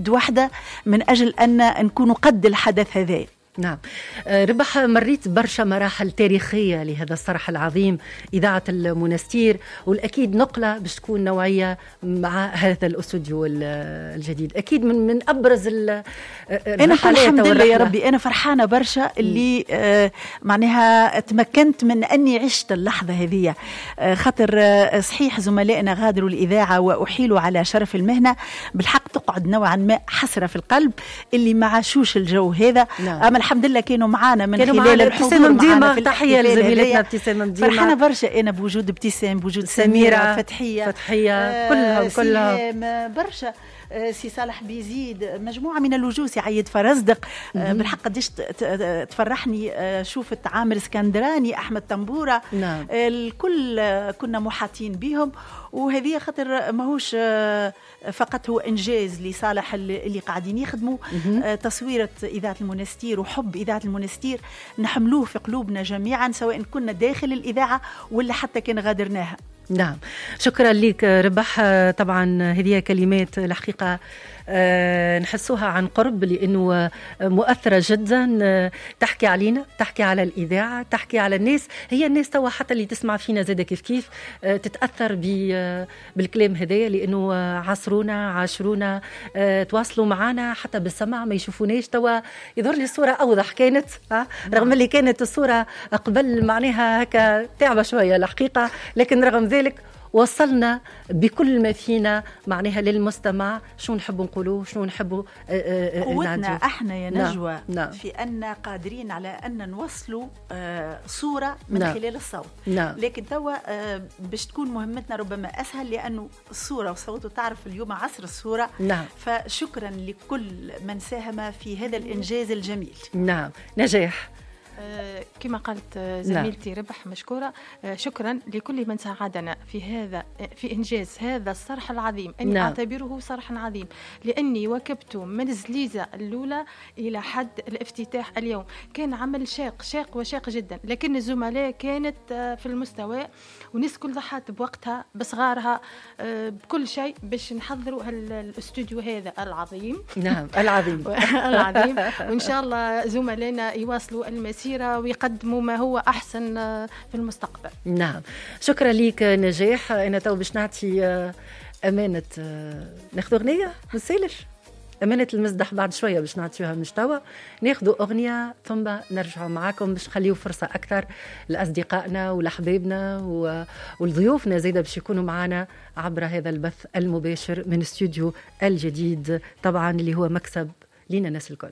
واحدة من أجل أن نكون قد الحدث هذا. نعم ربح، مريت برشا مراحل تاريخية لهذا الصرح العظيم إذاعة المنستير، والأكيد نقلة باش تكون نوعية مع هذا الأستوديو الجديد، أكيد من أبرز أنا الحمد لله يا ربي، أنا فرحانة برشا اللي معناها تمكنت من أني عشت اللحظة هذه، خاطر صحيح زملائنا غادروا الإذاعة وأحيلوا على شرف المهنة، بالحق تقعد نوعا ما حسرة في القلب اللي ما عاشوش الجو هذا. نعم. الحمد لله كانوا معانا من خلال الحضور معانا في تحية لزميلتنا ابتسام مديمة، فرحانة برشا أنا بوجود ابتسام، بوجود سميرة، فتحية كلهم برشا، سي صالح بيزيد، مجموعة من الوجوه، سي عيد فرزدق، بالحق قديش تفرحني شوفت عامر اسكندراني، أحمد طنبورة. نعم. الكل كنا محاطين بهم، وهذه خاطر ماهوش فقط هو إنجاز لصالح اللي قاعدين يخدموا تصويرة إذاعة المنستير وحب إذاعة المنستير نحملوه في قلوبنا جميعا، سواء كنا داخل الإذاعة ولا حتى كان غادرناها. نعم، شكرا لك ربح. طبعا هذه كلمات الحقيقة نحسوها عن قرب لأنه مؤثرة جدا، تحكي علينا، تحكي على الإذاعة، تحكي على الناس. هي الناس توا حتى اللي تسمع فينا زادة كيف كيف تتأثر بالكلام هذايا، لأنه عاصرونا، عاشرونا، تواصلوا معنا حتى بالسمع، ما يشوفوناش. توا يظهر لي الصورة أوضح كانت، رغم اللي كانت الصورة قبل معناها هكا تعبة شوية الحقيقة، لكن رغم ذلك وصلنا بكل ما فينا معناها للمستمع شو نحب نقولوه، شنو نحبوا قوتنا احنا يا نجوى. نعم. في أن قادرين على أن نوصلوا صورة من نعم. خلال الصوت. نعم. لكن توا باش تكون مهمتنا ربما أسهل، لأنه الصورة والصوت، وتعرف اليوم عصر الصورة. نعم. فشكرا لكل من ساهم في هذا الإنجاز الجميل. نعم. نجاح كما قالت زميلتي ربح مشكورة، شكرا لكل من ساعدنا في هذا، في إنجاز هذا الصرح العظيم. أني نعم. أعتبره صرحا عظيم، لأني واكبت من الزليزة الأولى إلى حد الافتتاح اليوم. كان عمل شاق شاق وشاق جدا، لكن الزملاء كانت في المستوى، وناس كل ضحت بوقتها بصغارها بكل شيء باش نحضروا الاستوديو هذا العظيم. نعم العظيم العظيم. وإن شاء الله زملائنا يواصلوا المسيرة ويقدموا ما هو أحسن في المستقبل. نعم، شكرا لك نجاح. أنا تو باش نعطي أمانة، ناخذ أغنية ما تسالش، أمانة المزدح بعد شوية باش نعطيوها مش توا، ناخذ أغنية ثم نرجع معاكم باش نخليو فرصة أكثر لأصدقائنا ولأحبابنا ولضيوفنا زايدة باش يكونوا معنا عبر هذا البث المباشر من استوديو الجديد، طبعا اللي هو مكسب لنا الناس الكل.